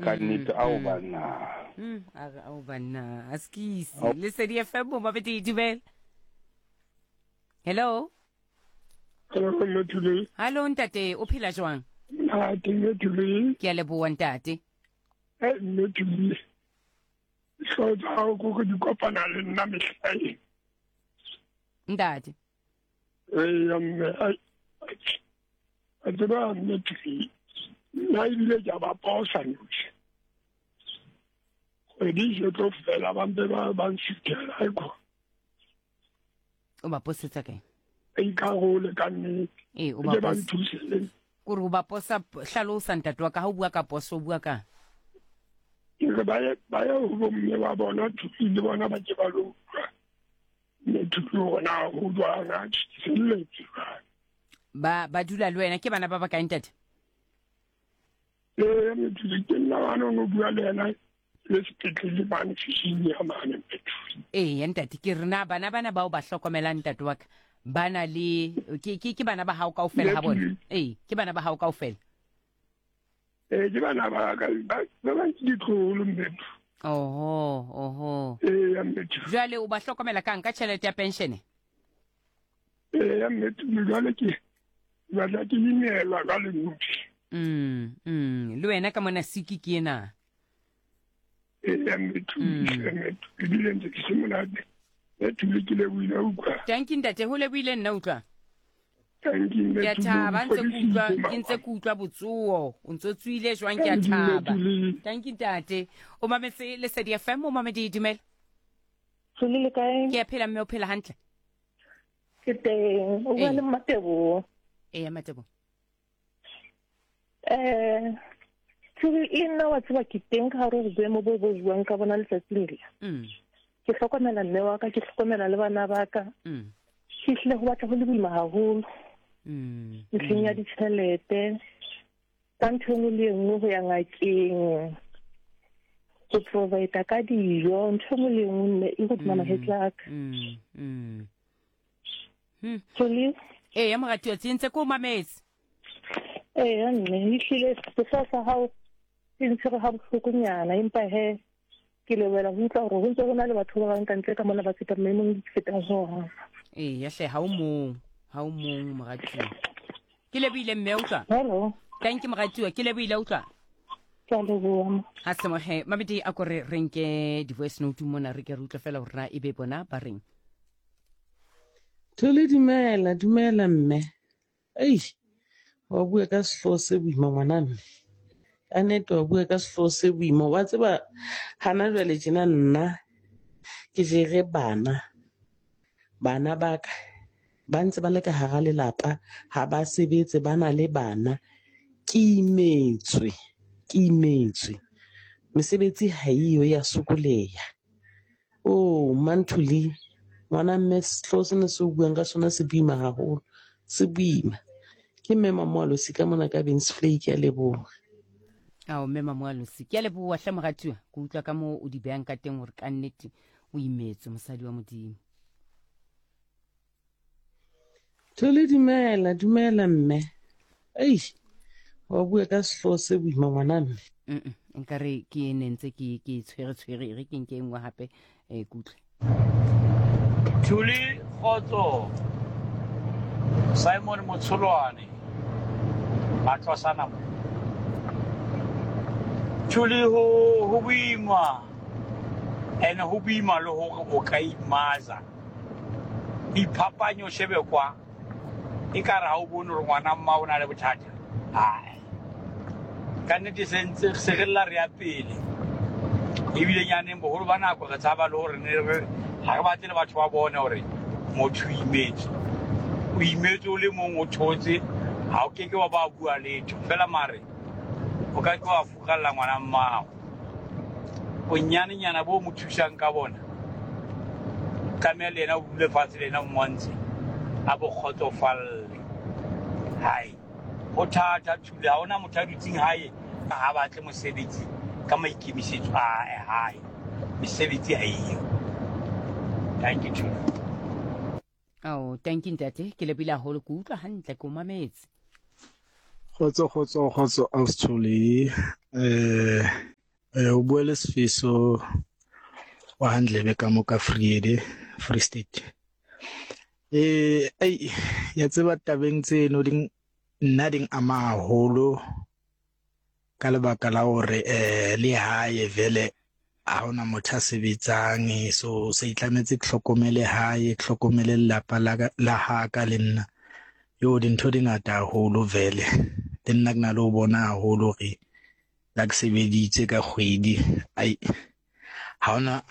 Ka nnete ao banna. A re ao banna, a skisi. Lesedi FM mo mabedi dumela. Hello. Hello, Mme Thuleng. Hallo ntate, o phela jwang? Na ke Mme Thuleng. Ke a leboha ntate. Eh, Mme Thuleng. Dihlooho tsa hao ko di kopana le nna mehla e. Ntate. Eya mme, ai, a tseba Mme Thuleng. Nna ebile ke a ba posa nosi. Kgwedi e se tlo fela ba mpe ba ba nsuthela aikho. O ba posetsa kae? Ba ikarole ka nnete. Ee, o Ke ba ba posa. nthuse le Kore o ba posa hlalosa ntate wa ka ha o bua ka poso o bua ka. Ke re ba ye ba ye ho bomme ba bona thusi le bona ba ke ba lo utlwa. Mme thusi hore na ho jwang a ke selletse jwang. Ba ba dula le wena ke bana ba ba kae ntate? Ee, Methuli ke nna mane o no bua le yena le sepetlele mane fishing ya mane Methuli. Ee, ntate ke re na bana bana bao ba hlokomelang ntate wa ka ba na le ke ke ke bana ba hao kaofela ha bona. Ee, ke bana ba hao kaofela. Ee, ke bana ba ka ba ba bang ke ditloholo Mmethu. Oho, oho. Ee, Mmethu. Jwale o ba hlokomela kang ka tjhelete ya penshene? Ee, Mmethu jwale ke batla ke imelwa jwale Mmethu. Le wena ka mona siki ke ena. Ee, Mmethu, Mmethu, ebile ntse ke se monate. Mmethu le ke lebohile utlwa. Thank you ntate, ho lebohile nna utlwa. Thank you, Ke a Mmethu, thaba ntse ke utlwa, fodisitse ke ntse ke utlwa botsoho. O ntso tswile jwang ke a Thank you, thaba. Mmethu. Thank you ntate. O mametse Lesedi FM, o mamedi dumela. Tsuli le kae? Ke a phela mme o phela hantle. Ke teng. O bua Ee. le Mmateboho. Ee, Mmateboho. Eh, Tsuli le nna wa tseba ke teng ka gare go boemo bo bo buang ka bona letsatsing le. Ke hlokomela mme wa ka, ke hlokomela le bana ba ka. Ke hlile go batla go le boima haholo. Ntlheng ya ditjhelete, ka ntho e nngwe le e nngwe go ya ngakeng, go provide ka dijo, ntho e nngwe le e nngwe mme e godima mahetla a ka. Tsuli? Ee, ya moratuwa, tse ntse ke o mametse. Ee, mme, ehlile sehlooho sa hao se ntshwere ha bohlokonyana, empa he ke lebohela go utlwa gore go ntse go na le batho ba bang ka ntle ka mona ba fetang maemong ke fetang go ona. Ee, ya hle, ha o mong, ha o mong moratuwa. Ke lebohile mme, utlwa. Hello. Thank you moratuwa, ke lebohile utlwa. Ke a leboha. Ha semoge, mabedi a kore re nke di-voice note mona re ke re utlwe fela gore na e be bona ba reng. Thole dumela, dumela mme. Ei, wa bua ka sehlooho se boima ngwana mme. Ka nnete wa bua ka sehlooho se boima. Wa tseba hana jwale tjena nna ke jere bana. Bana ba ka ba ntse ba le ka hara lelapa, ha ba sebetse, ba na le bana. Ke imetswe, ke imetswe. Mesebetsi ha eyo ya sokoleha. Oh, Mmanthuli, ngwana mme sehlooho sena se o buang ka sona se boima haholo, se boima. Ke mme Mamoalosi ka mona ka Bensvlei, ke a leboha. Ao, mme Mamoalosi, ke a leboha hle moratuwa. Ke utlwa ka moo o di behang ka teng hore ka nnete o imetswe mosadi wa Modimo. Thole dumela, dumela mme. Ei, wa bua ka sehlooho se boima ngwana mme. Mm nkare ke ne ntse ke ke tshwere tshwere e re ke nke e nngwe hape eh kutlwe. Thuli kgotso Simon Motsholwane Matlosana mo Thuli ho ho boima ene ho boima le hore o ka imaza Iphapanye o shebe kwa, ekare ha o bone hore ngwana mma o na le bothata. Hai, ka nnete se ntse se re lla re ya pele. Ebile nyaneng boholo ba nako re tshaba le hore ne re ha re batle le batho ba bone hore motho o imetswe. O imetswe o le mong o thotse, ha o keke wa ba bua letho. Fela mare o ka ke wa furalla ngwana mmao. Bonyanenyana bo mo thusang ka bona, tlameha le yena o dule fatshe le yena o mmontshe a bo kgotsofalle. Hai, ho thata Thule, ha hona motho a dutseng hae ha batle mosebetsi ka maikemisetso a hae. Mesebetsi ha eyo. Thank you Thule. Ao, thank you ntate, ke lebile haholo, ke utlwa hantle, ke o mametse. Kgotso kgotso kgotso Austhole eh. Eh, o bua le Sifiso wa Handlebe ka mo ka Vrede, Free State. Eh, ei, ya tseba tabeng tseno di nna di ama haholo ka lebaka la hore eh le hae vele ha hona motho a sebetsang so se itlametse ke hlokomele hae ke hlokomele lelapa la la ha ka le nna yo dintho di ngata haholo vele le nna ke na le ho bona haholo hore la ke sebeditse ka kgwedi ai ha hona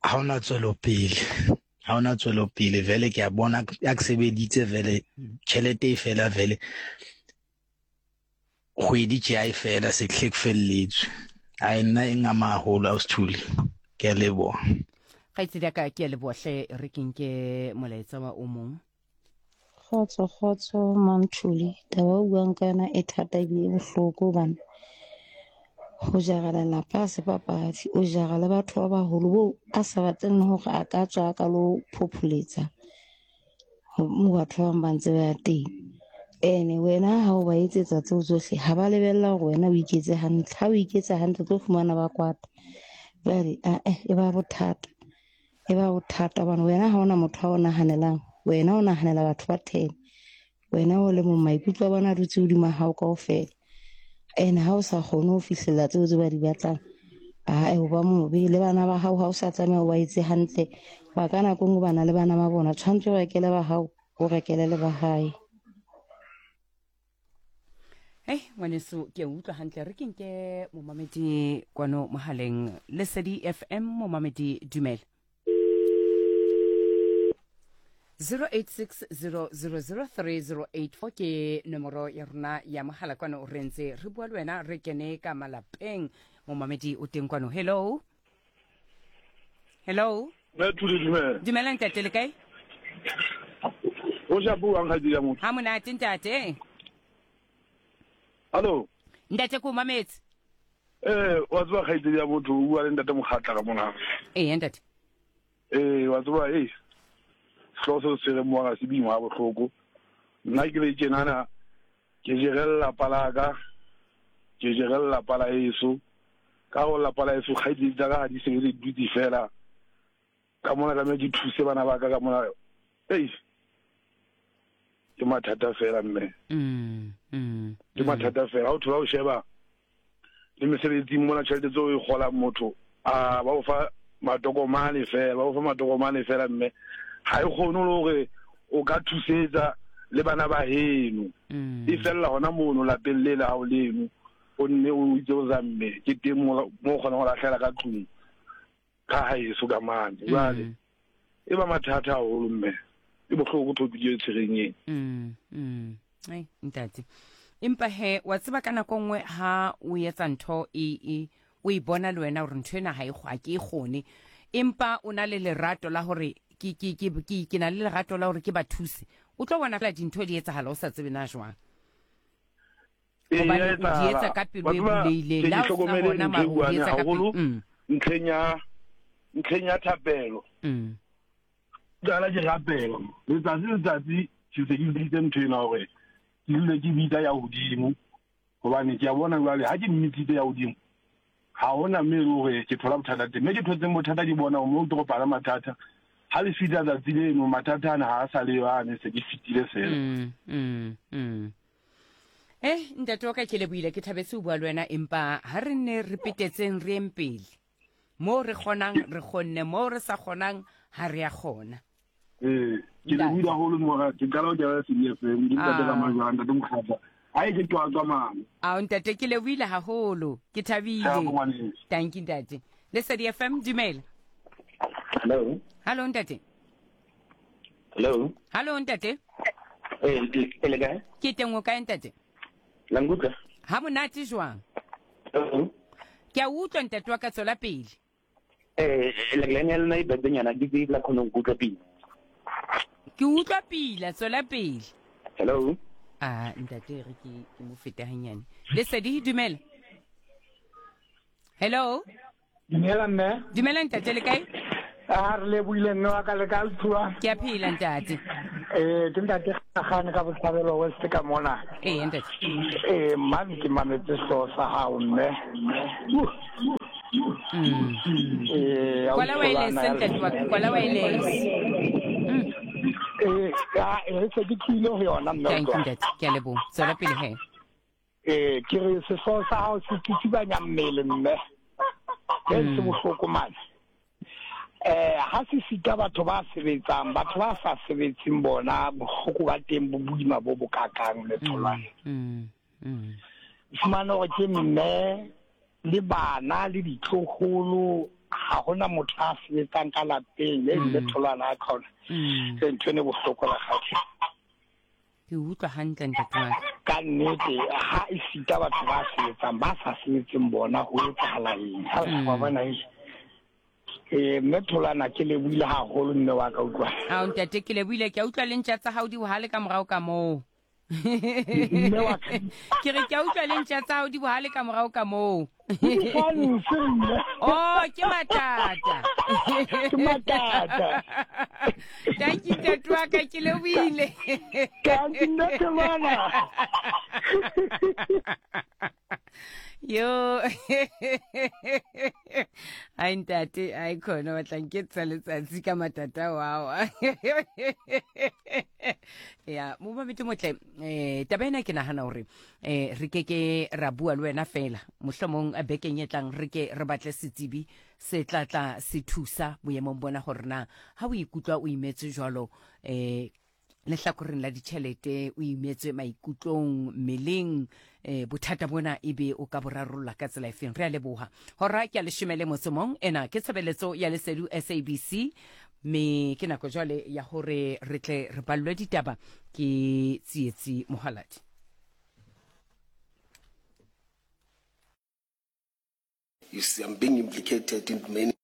ha hona tswelopele ha hona tswelopele vele ke a bona ya ke sebeditse vele tjhelete e fela vele kgwedi tje a e fela se hle ke felletswe a nna e ngama haholo a usithuli ke a leboha kgaitsedi ya ka ke a leboha hle re ke nke molaetsa wa o mong Kgotso kgotso Manthuli, taba o buang ka yona e thata ebile e bohloko hobane ho jara lelapa ha se papadi, o jara le batho ba baholo boo a sa batleng le hore a ka tswa a ka lo phopholetsa mo batho ba bang ba ntse ba ya teng. Ene wena ha o ba etsetsa tseo tsohle ha ba lebella hore wena o iketse hantle, ha o iketsa hantle o tlo fumana ba kwata. Jwale ae e ba bothata. E ba bothata hobane wena ha ona motho a o nahanelang, wena o nahanela batho ba 10. Wena o le mong maikutlo a bona a dutse hodima hao kaofela. Ene ha o sa kgone ho fihlella tseo tse ba di batlang, ae o ba mobe. Le bana ba hao ha o sa tlameha o ba etse hantle, hoba ka nako e nngwe ba na le bana ba bona, tshwanetse o rekele ba hao, o rekele le ba hae. Hei ngwaneso ke a utlwa hantle re ke nke momamedi kwano mohaleng Lesedi FM momamedi dumela 0860003084 ke nomoro ya rona ya mohala kwano re ntse re bua le wena re kene ka malapeng momamedi o teng kwano hello hello Mme Thuli dumela. Dumela ntate le kae? O ja buang ga dira motho. Ha monate ntate. Hallo. Ntate ko mametse. Eh, wa tseba kgaitsedi ya motho o bua le ntate Mokgatla ka mona. Ee ntate. Eh, wa tseba eh sehlooho se se tshwereng mo ga se boima ga bohloko. Nna ke le tjenana ke jere lelapa la ka, ke jere lelapa la heso. Ka go lelapa la heso kgaitsedi tsa ka ga di sebetse di dutse fela. Ka mona tlameha ke thuse bana ba ka ka mona. Ei, ke mathata fela mme. Ke mathata fela. Ha o thola o sheba le mesebetsing mona tjhelete tseo e kgolang motho a ba o fa matokomane fela, ba o fa matokomane fela mme ha e kgone le hore o ka thusetsa le bana ba heno. E fella hona mono lapeng le la hao leno o nne o itse o zamme ke teng mo o kgonang ho lahlela ka tlung ka haeso ka mane. Jwale e ba mathata haholo mme e bohloko topic e tshwereng ena. Ai ntate empa he wa tseba ka nako nngwe ha o etsa ntho e e o e bona le wena gore ntho ena ha e ga ke e kgone empa o na le lerato la hore ke ke ke ke ke na le lerato la hore ke ba thuse o tlo bona fela dintho di etsahala o sa tsebe na jwang Ee, Hobane ya o di etsa etsahala. ka pelo Wa e tseba, bulehileng. ke Le ke ha o sena hlokomele hona ntho mara e o di buang etsa ka pelo. haholo ntlheng ya ntlheng ya thapelo. Qala ke rapela letsatsi le letsatsi ke se ke biditse ntho ena hore ke dule ke bitsa ya hodimo hobane ke a bona jwale ha ke mmitsitse ya hodimo ha hona mme e le hore ke thola bothata teng mme ke thotseng bothata ke bona hore mo ke kopana mathata ha le fihla tsatsi leno mathata ana ha a sa le yo ane se ke fetile fela. Eh, ntate wa ka ke lebohile ke thabetse ho bua le wena empa ha re nne re petetseng re yeng pele moo re kgonang re kgonne moo re sa kgonang ha re ya kgona. Ee, ke lebohile haholo mora ke qala ho kena CDFM ke ntate ka majwang ntate Mokgatla ha e ke qwaqwa mane. Ao ntate ke lebohile haholo ke thabile. Thank you ntate. Lesedi FM dumela. Hello. Hello ntate. Hello. Hallo ntate. Eh, le le kae? Ke teng o kae ntate? La nkutlwa? Ha monate jwang? Hello. Ke a utlwa ntate wa ka tswela pele. Eh, line ya lona e bebenyana ke tse la kgone go utlwa pila. Ke utlwa pila tswela pele. Hello. Ah, ntate re ke ke mo fete hanyane. Lesedi dumela. Hello. Dumela mme. Dumela ntate le kae? A re lebohile mme wa ka le ka lthuwa. Ke a phela ntate. Eh ke ntate Gagane ka Botshabelo West ka mona. Ee ntate. Eh mane ke mametse sehlooho sa hao mme. Ee, Kwala wireless ntate wa ka, kwala wireless. Ee, a e se ke tlohile ho yona mme. Thank you ntate, ke a leboha. Tswela pele he. Ee, ke re sehlooho sa hao se tsitsibanya mmele mme. Ke se bohloko mane. Eh, ha se sita batho ba sebetsang, batho ba sa sebetseng bona bohloko ba teng bo boima bo bokakang mme Tholwana. Fumana hore ke mme le bana le ditloholo, ha hona motho a sebetsang ka lapeng le mme Tholwana a khona. Ke ntho e bohloko rakgadi. Ke utlwa hantle ntate wa ka. Ka nnete ha e sita batho ba sebetsang, ba sa sebetseng bona ho etsahala eng? Ha re wa bona e. Eh, mme Tholwana ke lebohile haholo mme wa ka utlwa. Ao ntate ke lebohile, ke a utlwa le ntja tsa hao di bohale ka morao ka moo. Mme wa ka. Ke re ke a utlwa le ntja tsa hao di bohale ka morao ka moo. Di mme. Oh, ke matata. Ke matata. Thank you ntate wa ka, ke lebohile. Thank you mme Tholwana. Yo. Ai ntate, ai khona wa tla nketsa letsatsi ka matata wao. Ya, mo mamedi motle, taba ena ke nahana hore re ke ke ra bua le wena fela. Mohlomong bekeng e tlang re ke re batle setsebi se tla tla se thusa boemong bona hore na ha o ikutlwa o imetswe jwalo lehlakoreng la ditšhelete, o imetswe maikutlong, mmeleng, bothata bona ebe o ka bo rarolla ka tsela efeng. Re a leboha. Hora ke ya leshome le motso mong. Ena ke tshebeletso ya Lesedu SABC, me ke nako jwale ya hore re tle re ballwe ditaba ke Tsietsi Mohaladi. You see, I'm being implicated in many